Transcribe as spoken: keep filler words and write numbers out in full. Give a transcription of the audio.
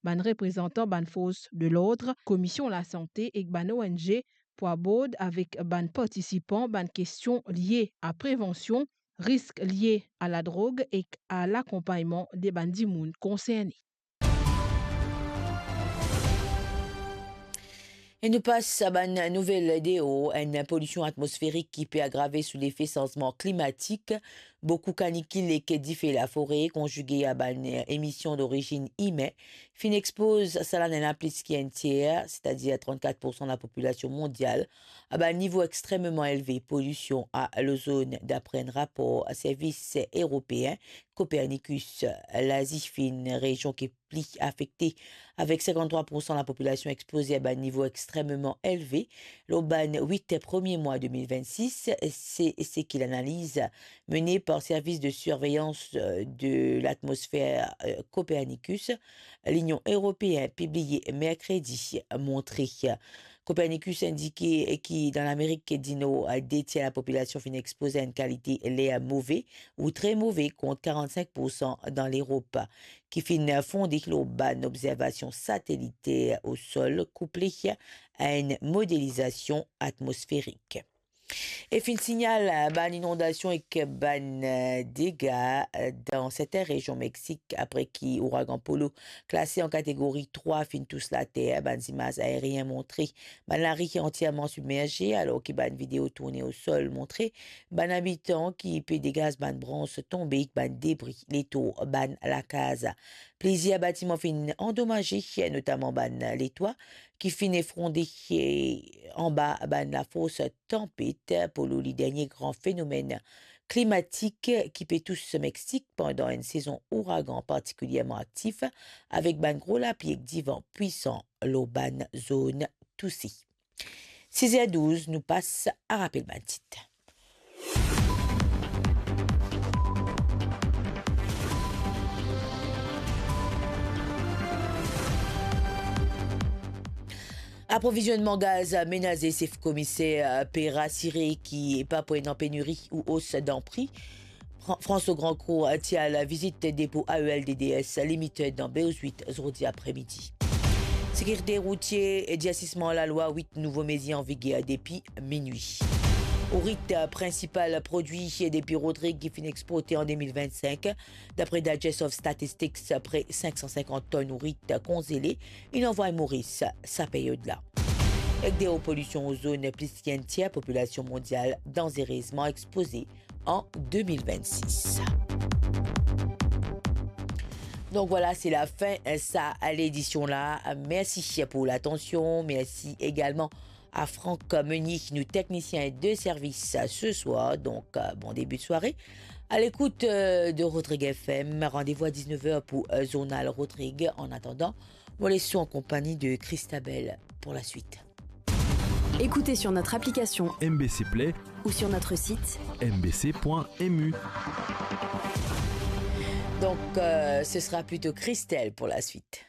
bann reprezantan bann fors de lord, Komisyon Lasante ek bann O N G pou abord avek bann partisipan bann kestion lie a prevansion risk lie a ladrog ek a lakonpagnman de bann dimoun konserne. E nou pas a bann nouvel deor. Enn polision atmosferik ki pe agrave sou lefe sanzman klimatik, boukou kanikil ek dife lafore, konzige a bann emision dorizinn imin, finn expoz sa lanne la plis ki enn tier, setadir trannkat poursan lapopilasion mondial, a bann nivo extrememan elve polision a lozonn, dapre enn rapor servis eropeen Copernicus. Lazi finn rezion ki pli afekte, avek sinkanntrwa poursan lapopilasion expoze a bann nivo extrememan elve. Lor bann wit premie mwa de mil vennsis, se seki lanaliz mene par Servis de Surveillance de l'Atmosphère, euh, Copernicus, Linion Eropeen, pibliye merkredi, montre. Copernicus indike ki dan Lamerik di Nor, de tier lapopilasion finn expoze a enn kalite ler move ou tre move, kont karannsink poursan dan Lerop, ki finn fonde lor bann obzervasion sateliter o sol, kouple a enn modelizasion atmosferik. E finn signal, eh, bann inondasion ek bann, eh, dega, eh, dan sertin rezion Meksik, apre ki ouragan Polo, klase an kategori trwa, finn tous later. Bann zimaz aerien montre bann lari antierman sibmerze, alor ki bann video tourne o sol montre bann abitan ki pe degaz bann brans tonbe ek bann debri letour bann lakaz. Plizier batiman finn andomaze, notaman bann letwa ki finn efronde, eh, anba bann lafors tanpet Polo, li dernie gran fenomenn klimatik ki pe tous Meksik pandan enn sezon ouragan partikilierman aktif, avek bann gro lapli ek divan pwisan lor bann zone touse. Siz er douz, nou pas a rapel bann tit. Aprovizionman gaz menaze, sef komiser pe rasire ki pa pou ena peniri ou os dan pri. Fran-, François Grandcourt ti al vizit depo A E L D D S Limited dan Beuzwit zordi apremidi. Sekirite routie, dirsisman lalwa, wit nouvo mezir an viger depi minwi. Ourit, prinsipal prodwi depi Rodrig ki finn exporte an de mil vennsenk. Dapre Digest of Statistics, pre sink san sinkant tonn ourit konzele inn anvway Moris sa peryod la. Ek deor polision ozon, plis ki enn tier popilasion mondial danzerezman expoze an de mil vennsis. Donk vwala, se lafin sa ledision la. Mersi pou latansion. Mersi egalman a Franck Meunier, nou teknisien de servis se swar. Donk, bon debi de sware. A lekout de Rodrig F M. Randevou a dix-neuf heures pou zournal Rodrig. An atandan, mo les ou an konpagni de Christabel pou laswit. Écoutez sur notre application M B C Play ou sur notre site M B C point M U. Donc, euh, ce sera plutôt Christelle pour la suite.